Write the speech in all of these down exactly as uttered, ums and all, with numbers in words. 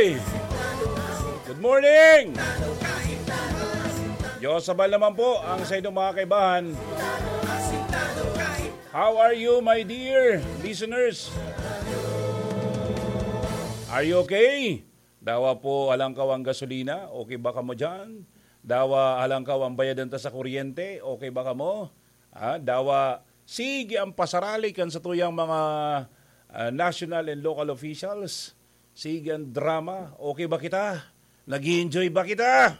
Good morning! Diyos sabay naman po ang sa inyong mga kaibahan. How are you, my dear listeners? Are you okay? Dawa po halangkaw ang gasolina, okay ba kamo dyan? Dawa halangkaw ang bayadan ta sa kuryente, okay ba kamo? Ah, dawa, sige ang pasarali kan sa tuyang mga ah, national and local officials. Sige ang drama, okay ba kita? Nag-enjoy ba kita?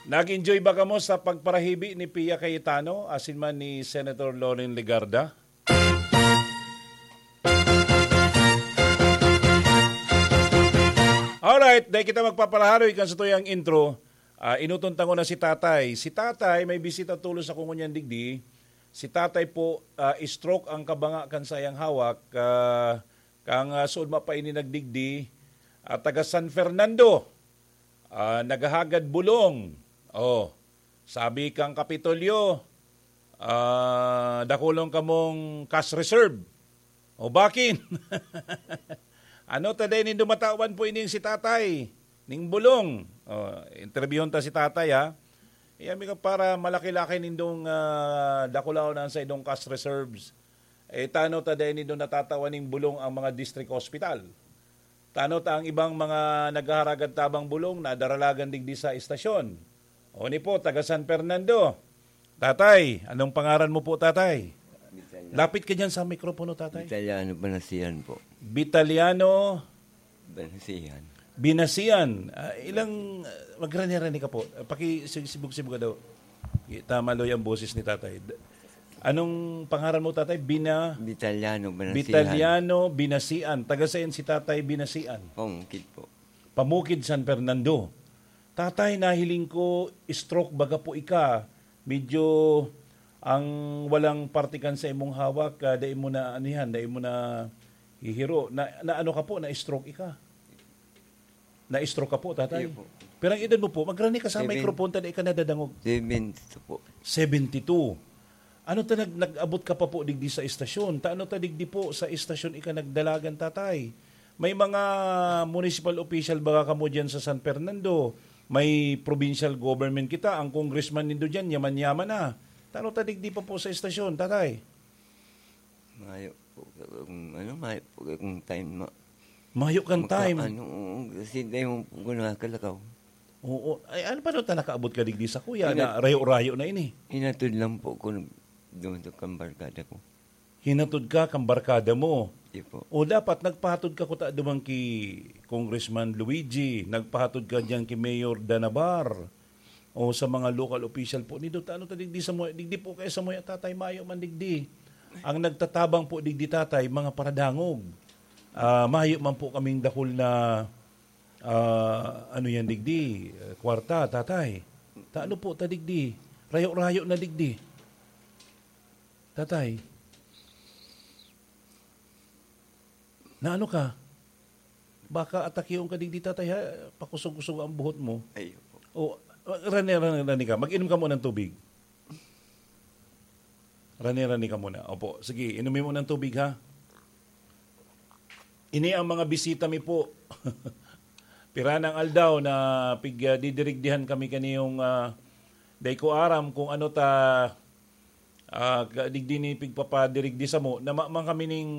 Nag-enjoy ba kamo sa pagparahibi ni Pia Cayetano, asin man ni Senator Loren Legarda? Alright, dahil kita magpapalaharoy kan sa tuyang intro, ah, inuton tango na si Tatay. Si Tatay, may bisita tulos ako ngunyan digdi. Si Tatay po, ah, stroke ang kabanga kan sayang hawak. Ah, kang ah, suod mapaini nagdigdi, ah, taga San Fernando. Ah, naghahagad bulong. Oh, sabi kang Kapitolyo, ah, dakulon kamong cash reserve. O bakin? Ano ta dai nindo matawan po ining si Tatay ning bulong? Oh, interviewon ta si Tatay, ha. Iya mi ka para malaki-laki nindong ah, dakulaon ang sa idong cash reserves. Eh, tano ta dai nindo natatawan ning bulong ang mga district hospital? Tano ta ang ibang mga naghaharagad tabang bulong na daralagan digdi sa estasyon? O ni po, taga San Fernando. Tatay, anong pangaran mo po, Tatay? Lapit ka dyan sa mikropono, Tatay. Italiano, Banasian po. Vitaliano Banasian. Binasian. Ah, ilang, ah, magrani-rani ka po. Ah, pakisibog-sibog ka daw. Tama lo yung boses ni Tatay. D- Anong pangaran mo, Tatay? Bina Vitaliano, Banasian. Vitaliano Binasian. Taga saan si Tatay Binasian? Pamukid po. Pamukid, San Fernando. Tatay, nahiling ko, stroke baga po ika. Medyo ang walang parte kan sa imong hawak, ah, dai mo na anihan, dai mo na hihiro. Na, na ano ka po, na-stroke ika? Na-stroke ka po, Tatay? Iyo po. Pero ang edad mo po, magrani ka sa Seven- microphone, ta dai ka nadadangog. Seventy-two po. Seventy-two. Ano ta nag-, nag-abot ka pa po digdi sa estasyon? Ta ano ta digdi po sa estasyon ika nagdalagan, Tatay? May mga municipal official ba kamo diyan sa San Fernando? May provincial government kita, ang congressman nindo diyan, yaman-yaman na. Ta ano ta digdi pa po sa estasyon, Tatay? Mayo po kung, ano, mayo po kung time ma- Mayo kang Maka- time. Ano, oo, kasi dahil mo po ko nakakalakaw. Oo. Ay, ano, paano ta nakaabot ka digdi sa kuya Ina- na rayo-rayo na ini? Hinatod lang po ko nag-, doon sa kambarkada ko. Hinatod ka kang barkada mo. Di po. O dapat nagpahatod ka kuta duman ki Congressman Luigi, nagpahatod ka diyan ki Mayor Danabar, o sa mga local official po. Nindo ta ano ta digdi sa Moya, digdi po kay sa Moya, Tatay, mayo man digdi. Ang nagtatabang po digdi, Tatay, mga paradangog. Ah, mayo man po kaming dakul na, ah, ano yan digdi, eh, kwarta, Tatay. Ta ano po ta digdi? Rayo-rayo na digdi. Tatay, na ano ka? Baka atakion ka digdi, Tatay, ha? Pakusog-kusog ang buhot mo. Ay, opo. O, rani, rani, rani ka. Mag-inom ka muna ng tubig. Rani, rani ka muna. Opo, sige, inumin mo ng tubig, ha? Ini ang mga bisita mi po. Pira nang aldaw na pig, ah, didirigdihan kami kaniyong, ah, dai ko aram kung ano ta, ah, ka-, digdi ni pigpapadirigdi samo. Na ma-, man kami ning,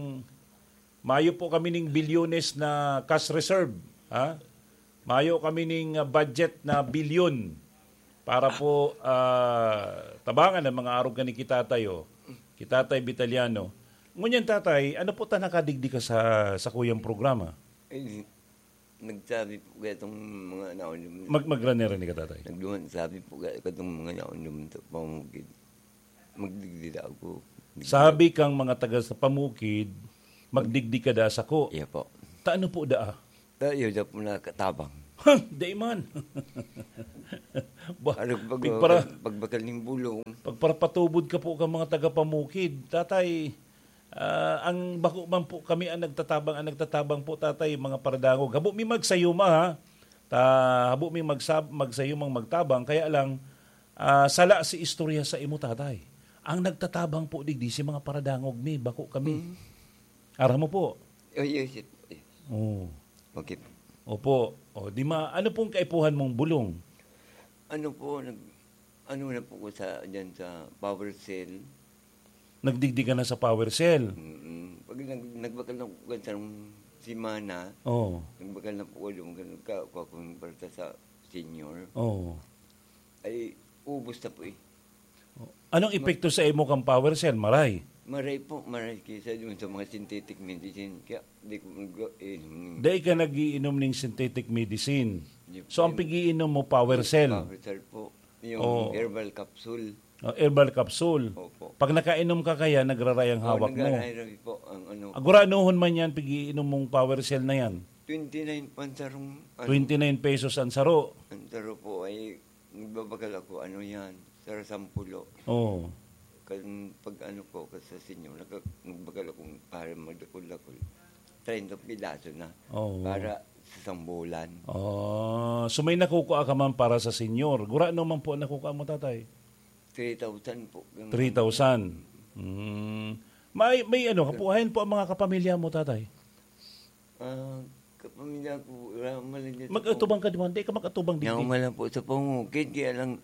mayo po kami ning bilyones na cash reserve, ha? Mayo kami ning, ah, budget na bilyon para po, ah, tabangan ang mga arog kan ni Kitatay, oh. Kitatay Vitaliano. Ngunyan, Tatay, ano po ta nakadigdi ka sa, sa kuyang programa? Ay, nagsabi po kaya itong mga naon yung Mag-, magrani-rani ka, Tatay. Nagduman, sabi po kaya itong mga naon yung sa pamukid. Magdigdi daw ako. Sabi kang mga taga sa pamukid, magdigdi ka da sako. Iya po. Ta ano po daa? Ta iyo da po nakatabang. Ha, dai man. Ba, Ano pag, pigpara-, pag, pagbakal ning bulong. Pagparapatubod ka po ka mga taga pamukid. Tatay, ah, ang bako man po kami ang nagtatabang, ang nagtatabang po, Tatay, mga paradangog. Habo mi magsayuma, ha? Ta, habo mi magsab-, magsayumang magtabang, kaya lang, ah, sala si istorya sa imo, Tatay. Ang nagtatabang po digdi si mga paradangog mi, bako kami. Mm. Aram mo po? Oh, yes, yes. Yes. Oh. Okay. Opo. O, di ma-, ano pong kaipuhan mong bulong? Ano po, nag-, ano na po ko sa, dyan sa power cell. Nagdigdi ka na sa power cell? Mm-mm. Pag nag-, nagbakal na po, ganitong semana, Oo. nagbakal na po ko, nagka-, kuha kong balta sa senior. Oo. Ay, ubos na po eh. Anong Ma- epekto sa imo kan power cell? Maray? Maray po, maray kaysa dun sa mga synthetic medicine. Kaya di ko mag-, eh, hmm. Dai ka nag-iinom ning synthetic medicine. Di So, ang po. Pigiinom mo, power cell? Power cell po. Yung Oo. herbal capsule. Oh, herbal capsule. Opo. Pag nakainom ka kaya, nagraray ang Oo, hawak mo? nagraray po ang ano. Ah, guranohon man yan, pigiinom mong power cell na yan? Twenty-nine po ang sarong, ano. Twenty-nine pesos ang saro. Ang saro po ay Nagbabakal ako, ano yan, sarasampulo. Oo. Kan, pag ano po, kan sa senior, naka-, nagbakal akong para magdakul-dakul. Treinta pidaso na. Oo. Para sa isang bulan. Oh, so may nakukuha ka man para sa senior. Gurano man po ang nakukuha mo, tatay? Three thousand po. Yung Three thousand. Mm. May, may ano, kapuhayan po ang mga kapamilya mo, tatay? Ah, kapamilya ko, wala man lang dyan sa Mag-atubang ka, di ba? Di ka mag-atubang digdi. Yaon man lang po sa pangukid, kaya lang,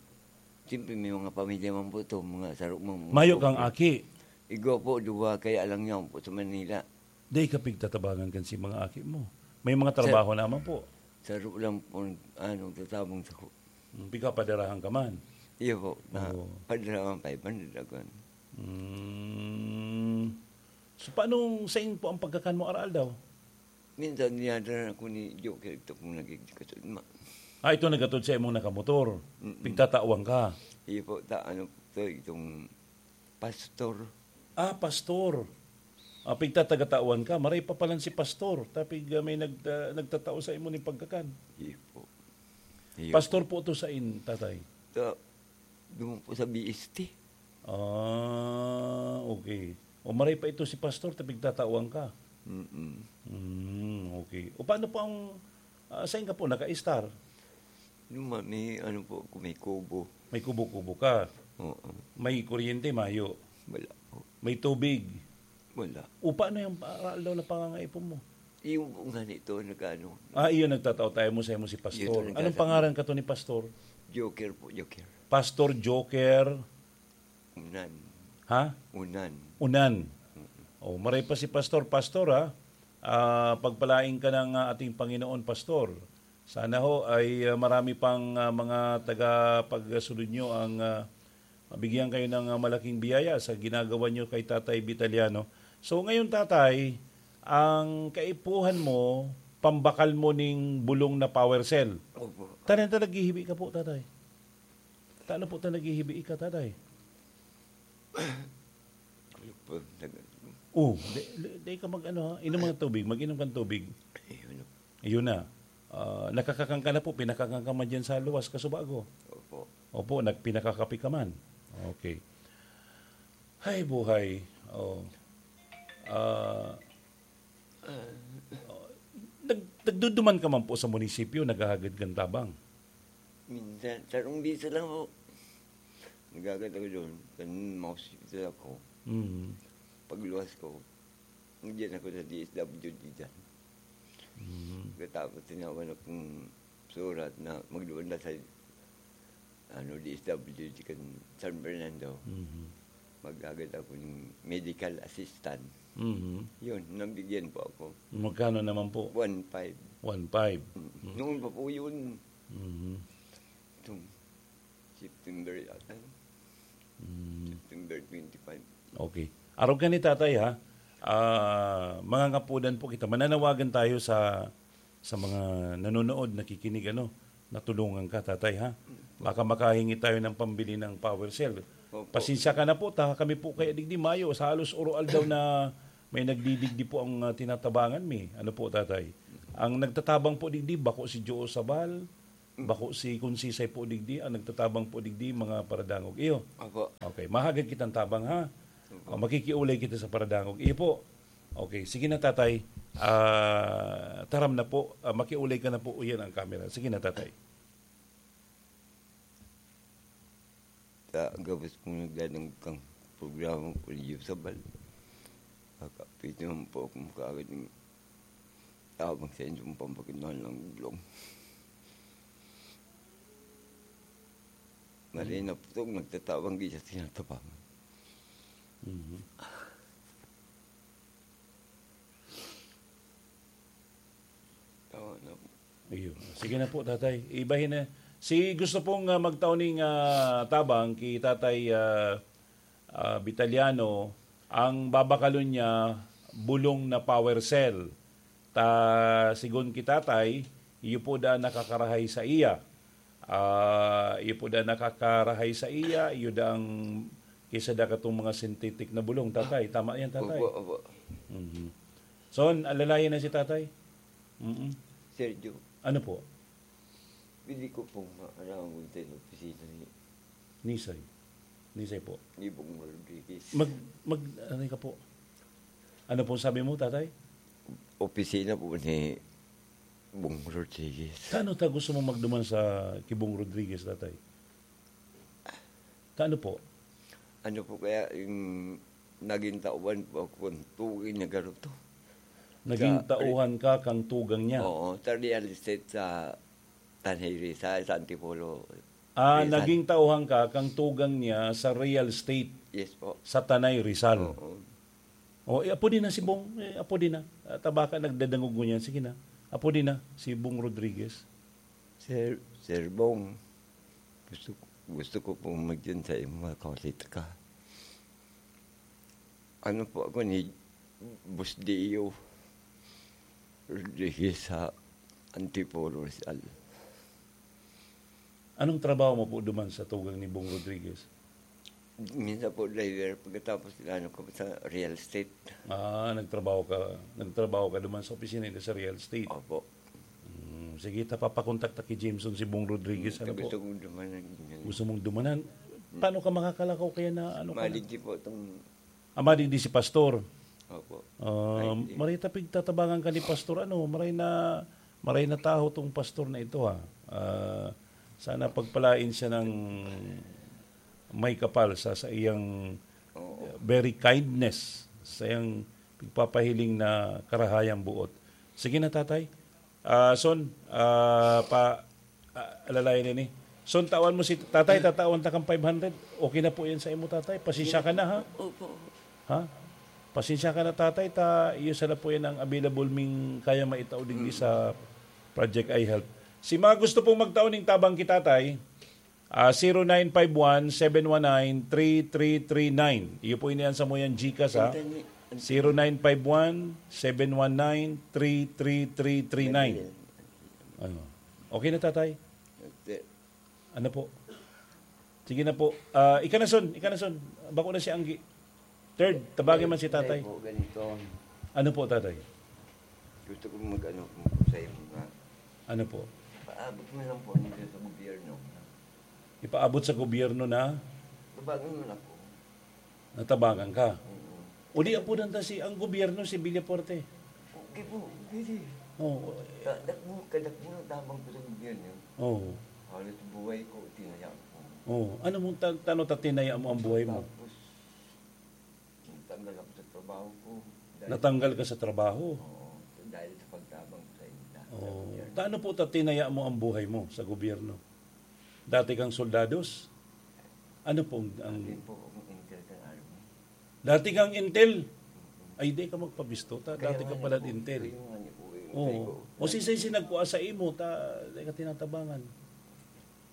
siyempre, may mga pamilya man po to, mga saro man po. Mayo kang aki. Igwa po, duwa, kaya lang yaon po sa Manila. Di ka pigtatabangan kan si mga aki mo. May mga Sa trabaho naman po. Saro lang po, ano, tatabang sa ku- Hmm, pigkapadarahan ka man. Iyo po, na Oo. padarahan five hundred ako. Hmm. So, paano sa in po ang pagkakan mo aral daw? Minsan, dinadala ako ni Joker, ito pong nagigdikasyon, ma. Ah, ito nagatod sa imong nakamotor. Mm-mm. Pigtatawan ka? Iyo po, ta-, ano, to, itong pastor. Ah, pastor. Ah, pigtatagatawan ka. Maray pa palan si pastor. Tapig, ah, may nag-, ah, nagtatao sa imo ning pagkakan. Iyo po. Iyo Pastor po. po to sa in, tatay? Sa, doon po sa B S T. Ah, okay. O maray pa ito si pastor, tapig tatawan ka. Mm-mm. Mm, okay. O paano po ang, ah, saan ka po naka-star? Yung ma-, may ano po ako, may kubo. May kubo-kubo ka? Oo. May kuryente, mayo? Wala po. May tubig? Wala. O paano yung aral daw na pangangaipon mo? Yung po nga nito, nag-ano. Ah, iyon, nagtatao tayo mo sa imo si Pastor. Yun, Anong nagtatao. pangaran ka to ni Pastor? Joker po, Joker. Pastor Joker. Unan. Ha? Unan. Unan. Mm. Oh, maray pa si Pastor. Pastor, ha? Ah, pagpalain ka ng, ah, ating Panginoon, Pastor. Sana ho ay, ah, marami pang, ah, mga tagapagsunod nyo ang, ah, mabigyan kayo ng, ah, malaking biyaya sa ginagawa nyo kay Tatay Vitaliano. So, ngayon, Tatay, ang kaipuhan mo, pambakal mo ning bulong na power cell. Opo. Tanan ta naghihibi ka po, Tatay? Tano po ta naghihibi ika, Tatay? Ano po, nag- Oh, di, di, di ka mag-ano, ha? Inom ng tubig, mag-inom kang tubig. Ayun. Ayun na. Ah, nakakakan ka na po, pinakakan ka man dyan sa luwas, kasubago. Opo. Opo, nagpinakakapi ka man. Okay. Hay, buhay. Oh. Ah, Ah, oh, nag-, nagduduman ka man po sa munisipyo, naghahagad kang tabang? Minsan, sarong biso lang po. Naghagad ako doon. Kan ma-hospital ako. Mm. Pagluwas ko, nandiyan ako sa D S W D dyan. Mm. Pagkatapos, tinawan akong surat na magduman na sa, ano, D S W D kan San Fernando. Mhm. Maghagad ako ng medical assistant. Mhm. Yun, nabigyan po ako. Magkano naman po? One five. One five. Mm. Mhm. Noon pa po yun. Mhm. Itong September yata. Mm. September twenty-five. Okay. Arog ka ni tatay, ha? Ah, mangangapudan po kita. Mananawagan tayo sa, sa mga nanonood, nakikinig, ano, natulungan ka, tatay, ha? Baka makahingi tayo ng pambili ng power cell. Opo. Pasensya ka na po, ta, kami po kaya digdi, mayo, sa halos uro-aldaw na may nagdidigdi po ang, ah, tinatabangan mi. Ano po, tatay? Ang nagtatabang po digdi, bako si Joe Sabal, bako si Kunsisay po digdi, ang nagtatabang po digdi, mga paradangog. Iyo. Opo. Okay, mahagad kitang tabang, ha? Opo. O, makikiulay kita sa paradangog. Iyo po. Okay, sige na, tatay. Ah, taram na po. Ah, makiulay ka na po. Uyan ang camera. Sige na, tatay. Sa gabos kong nagdadangog kang Programa po ni Josabal. Kakapit naman po akong kaagad ng tabang sa inyong pampakinuhan ng gulong. Mali na po itong nagtatabang, di siya tinatabangan. Mhm. Tama na po. Iyo. Sige na po, tatay. Ibahin na. Si gusto pong, ah, magtao ning, ah, tabang ki tatay, ah, ah, Vitaliano, ang babakalon niya, bulong na power cell. Ta, sigon ki tatay, iyo po da nakakarahay sa iya. Ah, iyo po da nakakarahay sa iya, iyo da ang kisa da katong mga synthetic na bulong, tatay. Tama yan, tatay? Opo, opo. Mhm. So, alalayan na si tatay? Mm. Sergio. Ano po? Pwede ko pong maaraman sa opisina ni Nisay. Nisay po. Ni Bong Rodriguez. Mag, mag, ano ka po? Ano po sabi mo, tatay? Opisina po ni Bong Rodriguez. Kaano ta gusto mo magduman sa ki Bong Rodriguez, tatay? Kaano po? Ano po kaya yung naging tauhan po ako kung tugi niya garo to? Naging Sa tauhan ka kang tugang niya? Oo, sa real estate sa Tanay Rizal, sa Antipolo. Ah, Rizal. Naging tauhan ka kang tugang niya sa real estate Yes po. Sa Tanay Rizal. Oo. Oh, eh, apo din na si Bong, eh, apo din na. Ah, tabaka nagdadangog ngunyan. Sige na. Apo din na si Bong Rodriguez. Sir, Sir Bong, gusto, gusto ko pong magdiyan sa imo, kawalit ka. Ano po ako ni Boss Dio Rodriguez sa Antipolo, Rizal. Anong trabaho mo po duman sa tugang ni Bong Rodriguez? Minsan po driver, pagkatapos ano ko sa real estate. Ah, nagtrabaho ka, nagtrabaho ka duman sa opisina nila sa real estate? Opo. Hmm, sige, ta, papakontak ta ki Jameson si Bong Rodriguez, ano po? Gusto kong dumanan. Gusto mong dumanan? Paano ka makakalakaw kaya na ano ka na? Maligdi po itong Ah, madigdi si Pastor. Opo. Ah, Ay, di. Maray ta pigtatabangan ka ni Pastor, ano, maray na, maray na taho tong pastor na ito, ha. Ah, sana pagpalain siya ng may kapal sa, sa iyang Oo. very kindness, sa iyang pagpapahiling na karahayang buot. Sige na, tatay. Ah, son, ah, pa, ah, alalayan ini. Son, tawan mo si tatay, tatawan ta kang five hundred. Okay na po yan sa imo, tatay. Pasensya ka na, ha? Opo. Ha? Pasensya ka na, tatay, ta iyo sana po yan ang available ming kaya maitao digdi Mm. sa Project iHelp. Si mga gusto pong magtao ning tabang ki tatay, ah, zero nine five one, seven one nine, three three three nine. Iyo po ini ang samuyang GCash, ha? Internet. Zero nine five one, seven one nine, three three three three nine. Ano? Okay na, tatay? Hindi. Ano po? Sige na po. Ah, ika na, son. Ika na, son. Bako na si Anggi. Third, tabangin man si tatay. Hindi po, ganito. Ano po, tatay? Gusto ko mag-ano po sa iyo nga. Ano po? Paabot mo lang po nito sa gobyerno. Ipaabot sa gobyerno na? Tabangan mo na po. Natabangan ka? Oo. O di, apunan ta si, ang gobyerno, si Villafuerte. Okay po, pwede. Oo. Kadakbo, kadakbo ng tabang po sa gobyerno. Oo. Halos buhay ko, tinaya ko. Oo. Ano mong ta-, tano ta tinaya mo ang buhay mo? Tapos, natanggal ako sa trabaho ko. Dahil Natanggal ka sa trabaho? Oo, dahil sa pagtabang ko sa inyo. Oo. Sa gobyerno. Tano po ta tinaya mo ang buhay mo sa gobyerno? Dati kang soldados? Ano pong ang Dati po akong intel ng army. Dati kang intel? Mm-mm. Ay, di ka magpabisto, ta. Kaya Dati ka nga pala po, intel. Kaya nga niyo po, eh, Oo. sabi ko, O si, si, si nagkua sa imo, ta, di ka tinatabangan.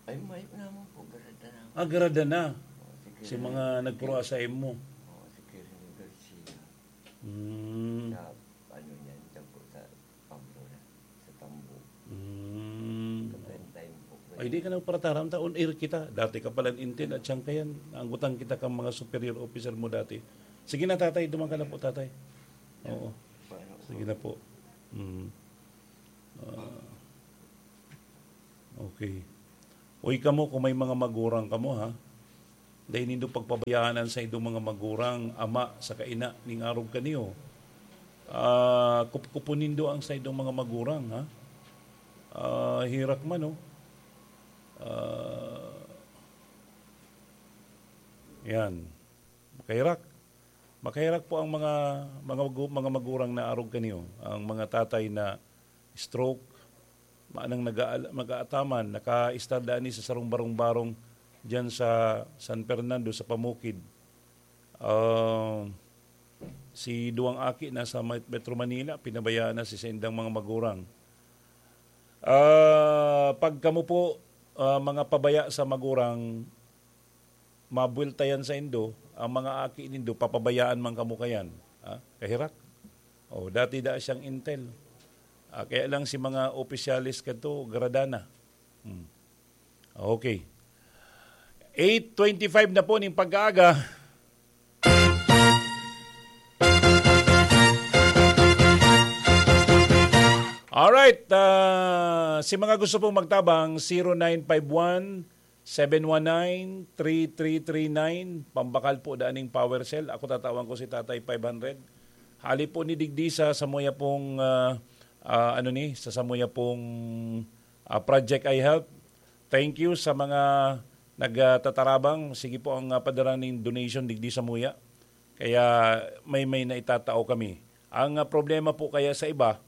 Ay, mayo naman po, garada na. Ah, garada na. Oo, si Si Colonel mga Garcia. nagkua sa imo. Oo, si Colonel Garcia. Mm. Sa, ano niyan, dyan po sa Pablo na, sa Tambo. Mm. Sa prime time po. Ay, di ka nagparataram ta, on air kita. Dati ka palang intel at siyang kayan. Naanggotan kita kang mga superior officer mo dati. Sige na, tatay. Duman ka na po, tatay. Oo. Paano po? Sige na po. Mm. Ah. Okay. Uy, kamo, kung may mga magurang kamo, ha? Dai nindo pagpabayaan an saindong mga magurang, ama saka ina ning arog kaniyo. Ah, kupkupon nindo ang saindong mga magurang, ha? Ah, herak man, oh. Ah, yan. Kaherak. Makaherak po ang mga, mga magu-, mga magurang na arog kaniyo, ang mga tatay na stroke, manang naga-, mag-aataman, naka-istar daan ni sa sarong barong-barong diyan sa San Fernando, sa Pamukid. Ah, si duwang aki nasa Met-, Metro Manila, pinabayaan na si saindang mga magurang. Ah, pag kamo po, ah, mga pabaya sa magurang, mabuwelta yan sa indo, ang mga aki nindo, papabayaan man kamo kayan. Ha? Kaherak. Oh, dati daa siyang intel. Ah, kaya lang si mga opisyales kadto, gradana. Hmm. Okay. Eight twenty-five na po ning pag-aaga. Alright, ah, si mga gusto pong magtabang, zero nine five one, seven one nine, three three three nine, pambakal po daan ning power cell. Ako, tatawan ko si Tatay five hundred. Hali po ni digdi sa samuya pong, ah, ah, ano ni, sa samuya pong, ah, Project I Help. Thank you sa mga nagtatarabang. Sige po ang, ah, padara ning donation digdi samuya. Kaya may, may naitatao kami. Ang, ah, problema po kaya sa iba,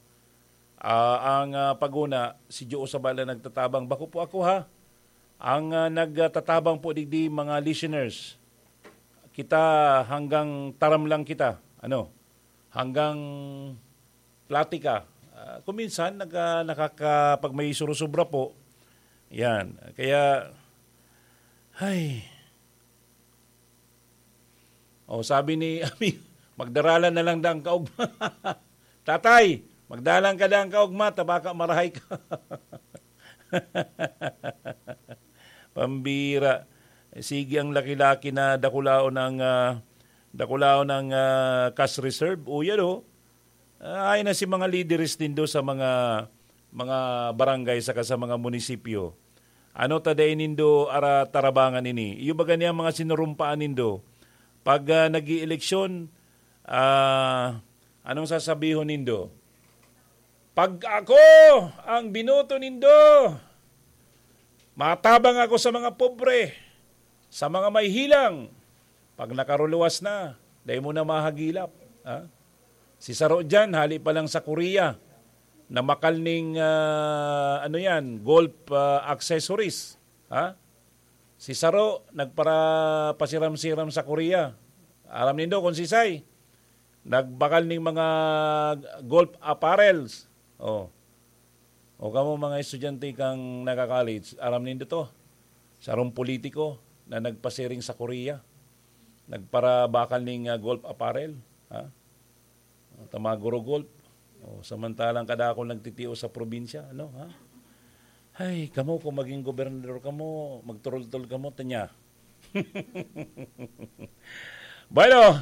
ah, ang, ah, paguna, si Diyos sa bala nagtatabang. Bako po ako, ha? Ang, ah, nagtatabang po digdi, mga listeners. Kita, hanggang taram lang kita. Ano? Hanggang platika. Ah, kung minsan, nag-, ah, nakaka-, pag may surusubra po, yan. Kaya, ay. Oh, sabi ni Ami, "Magdaralan na lang dang kaugma." "Tatay, magdalan ka dang kaugma, ta baka marahay ka." Pambira. Sige ang laki-laki na dakulaon ang, ah, dakulaon ang, ah, cash reserve. O, yan, oh. Ah, ay na si mga lideres nindo sa mga, mga barangay saka sa mga munisipyo. Ano ta dai nindo ara tarabangan ini? Iyo baga niya mga sinurumpaan nindo? Pag, ah, nag-ieleksyon, ah, anong sasabihon nindo? "Pag ako ang binoto nindo, matabang ako sa mga pobre, sa mga may hilang." Pag nakaruluwas na, dai mo na mahagilap, ha? Si saro diyan, hali pa lang sa Korea, namakal ning, ah, ano yan, golf, ah, accessories, ha? Si saro, nagpara-, pasiram-siram sa Korea. Aram nindo kung sisay, nagbakal ning mga golf apparels. Oh. O kamo, mga estudyante kang nagka-college, aram nindo to. Sarong politiko na nagpasiring sa Korea. Nagparabakal ning, ah, golf apparel, ha? O, ta maguro golf. O, samantalang kadakul nagtitios sa probinsya, ano, ha? Hay, kamo, kung maging gobernador kamo, magturultol kamo, tanya. Bueno,